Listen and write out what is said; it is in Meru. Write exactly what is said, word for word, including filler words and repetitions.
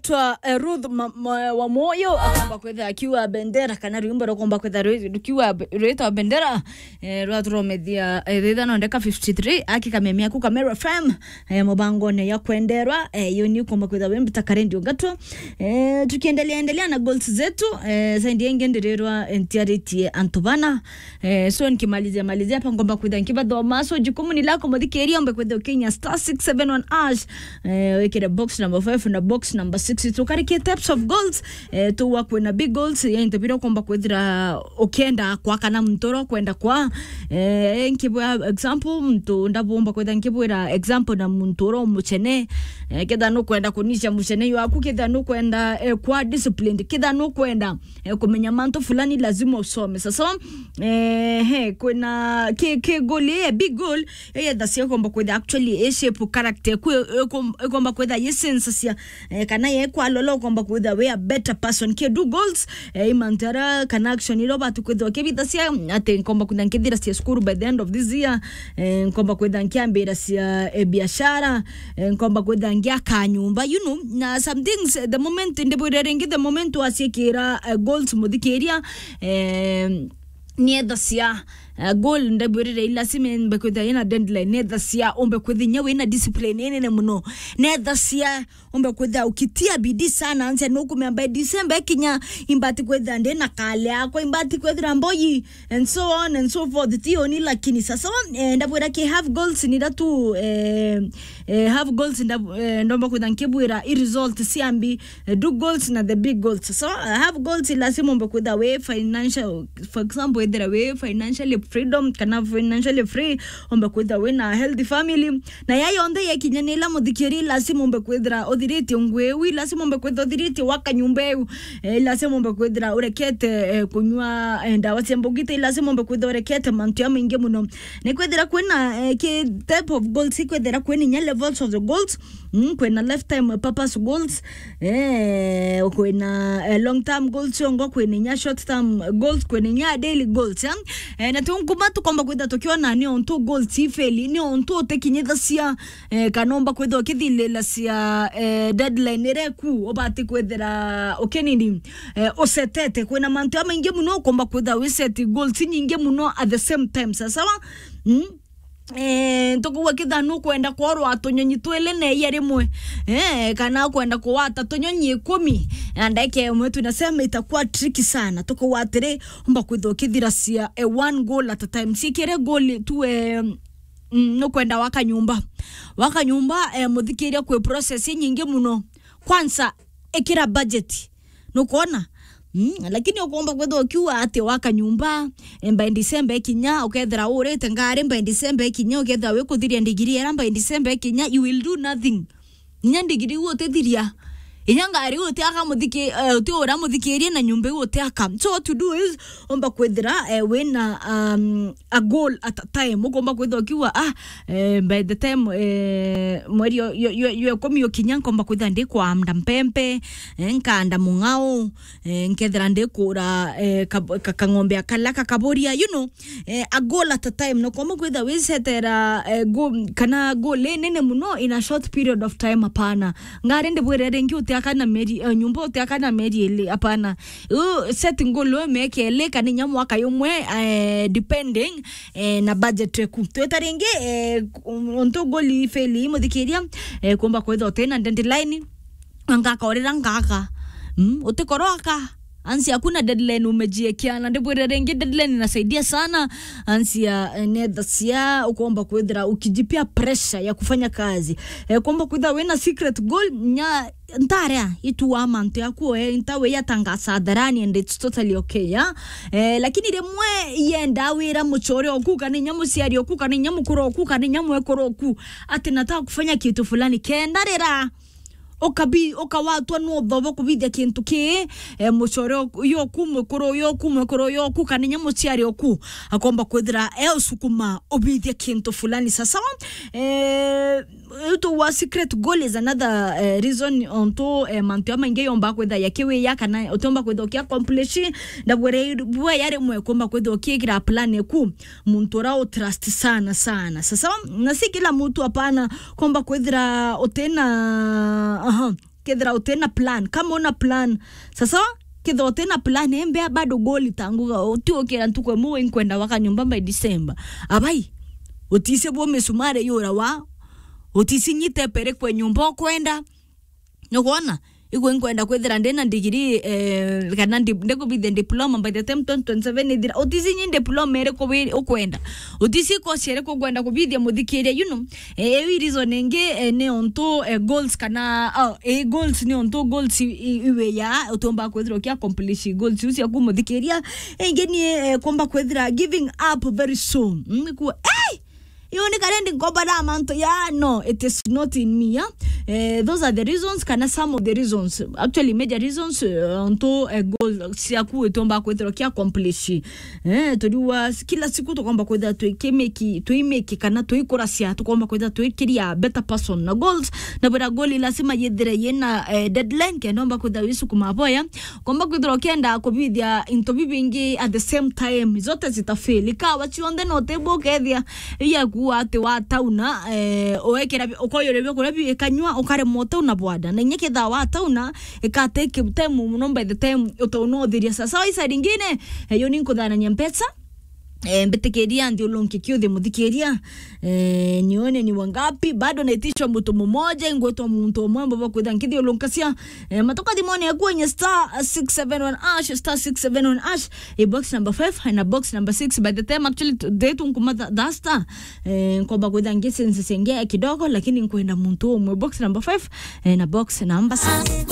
Twa, eh, Ruth ma, ma, wa Moyo, akomba kwitha akiwa Bendera, kana rwimbo rukomba kwitha rwi-, rukiwa be-, rwitwa Bendera, eh, rwa turomethia, eh, thitha no ndeka fifty-three, aki kamemia ku Kamero F M, eh, mubangone ya kwenderwa, eh, yo ni ukomba kwitha wimbi ta karendi ungatwa. Eh, tukiendelea endelea na goals zetu, eh, zaidi yengi ndirirwa, eh, ntiaritie antu bana, Eh, so nikimalizia malizia hapa, ngomba kwitha nkibathoma. So jukumu ni lako, muthikiria, ombe kwitha ukinya star six seven one hash, eh, wikire box number five na box number six. Tukarikie types of goals, eh, tuwa kwina big goals, ya into bira ukomba kwithira ukienda kwa kana muntu uria ukwenda kwa. Eh, nkibwa example, muntu ndabomba kwitha nkibwira example na muntu uria umuchene, eh, ketha nukwenda kunisha muchene waku, ketha nukwenda, eh, kwa disciplined, ketha nukwenda eh, kumenya mantu fulani lazima usome. Sasa, eh, he, kwina ki, ki goal, eh, big goal, eh, yethasia komba kwitha actually, eh, shape character, kwi, eh, kom-, eh, komba kwitha ye sense cia, eh, kana ye kwa lolo komba kwitha we a better person. Ki do goals, eh, imantara kana action iro batu kwitha kibithasia, ati komba kwitha nkithira cia school by the end of this year, eh, komba kwitha nkiambira cia, eh, biashara, eh, nkomba kwitha ngiaka nyumba, you know, na some things, eh, the moment, ndibwire ringi, the moment wasiikira, eh, goals muthikiria, eh, niethasia, eh, goal ndibwirire i lazima mbe kwitha ina deadline, niethasia umbe kwithinya wina discipline inene muno, niethasia umbe kwitha ukitia bidii sana, ansia nukumea by December ikinya imbati kwitha ndina kale akwa, imbati kwithira mboyi, and so on and so forth. Ti oni lakini sasa, eh, ndabwira ki half goals ni datu, eh, eh, half goals nda, eh, ndomba kwitha nkibwira i result siambi, eh, do goals na the big goals. So, eh, half goals lazima umbe kwitha we financial, for example, ethira we financially freedom kana financially free, umbe kwitha we na healthy family. Na ya yonthe yekinya ni ila muthikiri, lazima umbe kwithira uthiritie ngui iu, lazima umbe kwithira uthiritie waka nyumba iu, eh, lazima umbe kwithira urekete, eh, kunyua, eh, ndawa cia mbugite, lazima umbe kwithira urekete mantu ya maingi muno. Ni kwithira kwina, eh, ki type of goals, ikwithira kwina inya levels of the goals, mm, kwina lifetime purpose goals, eh, kwina, eh, long term goals, yongo kwina inya short term goals, kwina inya daily goals, eh? Eh, na tunkuma tukomba kwitha tukiona ni ontu goals ifeli, ni ontu utikinyithasia, eh, kana umba kwitha ukithilila cia, eh, deadline iria iku ubati kwithira ukinini, eh, usetete. Kwina mantu jamaingi muno ukomba kwitha wi set goals nyingi muno at the same time. Sasawa? Mm? Eh, ntukugwa kitha nukwenda kworwa tunyonyi twili na iya rimwe, eh, kana ukwenda kuwata tunyonyi ikumi na ndeke imwe, tunasema itakuwa tricky sana. Tukugwa atiri, umba kwitha ukithiracia, eh, one goal at a time. Sikire goal tu, eh, mm, nukwenda waka nyumba. Waka nyumba, eh, muthikiria kwi process nyingi muno. Kwanza, ikira budget. Nukwona? Mm, lakini ukomba kwithwa ukiuga ati waka nyumba, eh, by December ikinya, ukethira urite ngari, by December ikinya, ukethira wikuthiria ndigiri era, by December ikinya, you will do nothing. Inya ndigiri iu utithiria. Inya ngari iu utiaka muthiki-, eh, utiura muthikirie na nyumba iu utiaka. So what to do is, umba kwithira, eh, wina, um, a goal at a time. Ukomba kwithwa ukiuga, ah, eh, by the time, eh, mweri yo, yo, yo, yo ikumi ukinya, nkomba kwithwa ndi kuanda mpempe, eh, nkanda mung'ao, eh, nkethira ndikura, eh, ka, ka, kang'ombe akala kakaburia, you know, eh, a goal at a time. No komba kwithwa wisetera, eh, go-, kana goal inene muno in a short period of time, hapana. Ngari ndibwire ringi utiaka na mieri, eh, nyumba utiaka na mieri ili, hapana. U set goal we miaka ili kana inya mwaka yumwe, eh, depending, eh, na budget eku. Twita ringi, eh, untu goal ifeli muthikiria, eh, kumba kwithwa utina deadline, ngakorera ngaka. Mm, utikoroka. Ansi akuna deadline umejiekia, na ndibwire ringi deadline inasaidia sana. Ansi ya, eh, netha cia ukomba kwithira ukijipia pressure ya kufanya kazi. Eh, komba kwithira wina secret goal, nya ntarea itu wa mantu yaku, eh, ntawe yatangaza hadharani and it's totally okay, yeah? Eh, lakini rimwe yenda wira muchore oku, kana inya muciari oku, kana inya mukuru oku, kana inya mwekuru oku, ati nataka kufanya kitu fulani, kenda rira ukabi-, ukawatwa ni uthobo kubithia kintu ki, eh, muchore oku, yoku, mukuru yoku, mwekuru yoku, kana inya muciari oku, akomba kwithira e usukuma ubithia kintu fulani. Sasawa? Eh, Utu wa secret goal is another, eh, reason ontu, eh, mantu jamaingi yomba kwitha yakiwiya kana utiomba kwitha uki accomplish. Ndabwire bwa ya rimwe kumba kwitha ukiikira plan eku muntu ura u trust sana sana. Sasa, na si kila muntu, hapana, kumba kwithira utina, aha, kethira utina plan, kama una plan. Sasa, kethira utina plan, embea bado goal tanguga, uti ukira ntuku imwe inkwenda waka nyumba by December. Abai, utise bo misumari yura wa, utisi nyite pere kwe nyumba ukwenda. Nukwona? Igwe nkwenda kwithira ndina degree, eh, kana ndi-, ndikubithia diploma by the time twenty twenty-seven ithira. Utisi nyi diploma iriku wi-, ukwenda. Utisi course iriku ukwenda kubithia muthikiria, you know. Eh, iu reason ingi, eh, ni ontu, eh, goals kana, oh, eh, goals ni ontu goals i-, i-, iwe ya, utomba kwithira uki accomplish goals iu ciaku muthikiria. Ingi ni, eh, komba kwithira giving up very soon. Mm, ku-, hey! Iyo ni kare ndi nkombara mantu ya, no, it is not in me, ya. Eh, those are the reasons, kana some of the reasons, actually major reasons, eh, ontu, eh, goal ciaku itomba kwithirwa ki accomplish. Eh, turiwa kila siku tukomba kwithira twikimiki, twimiki kana twikuracia, tukomba kwithira twikiria better person. Na goals, na bwira goal lazima yithire yina, eh, deadline, kenda omba kwithira wisukuma boya. Komba kwithirwa ukienda kubithia into bibingi at the same time, zote zitafail. Ikawa cionthe no tibukethia iya kuwa ati watauna, eh, uekera bi-, ukoyore bia kuria bi-, ikanywa, ukaremwa utauna bwada. Na inya ketha watauna, ika take time muno by the time utauna uthiria. Sasa waisa ringine, eh, yo ni nkuthanania mbeca, eh, mbitikiria nthiulunki kiuthi muthikiria, eh, nione ni wangapi, bado naitisha mtu mmoja, ingwetwa muntu umwe mbo bakwitha nkithiulunkacia, eh, matoka thimone yaku enye star six seven one hash, star six seven one hash, eh, box number five na box number six. By the time actually today tunkuma tha-, tha star, eh, nkomba kwitha ngisense senge kidogo, lakini nkwenda muntu umwe, box number five, eh, na box number six.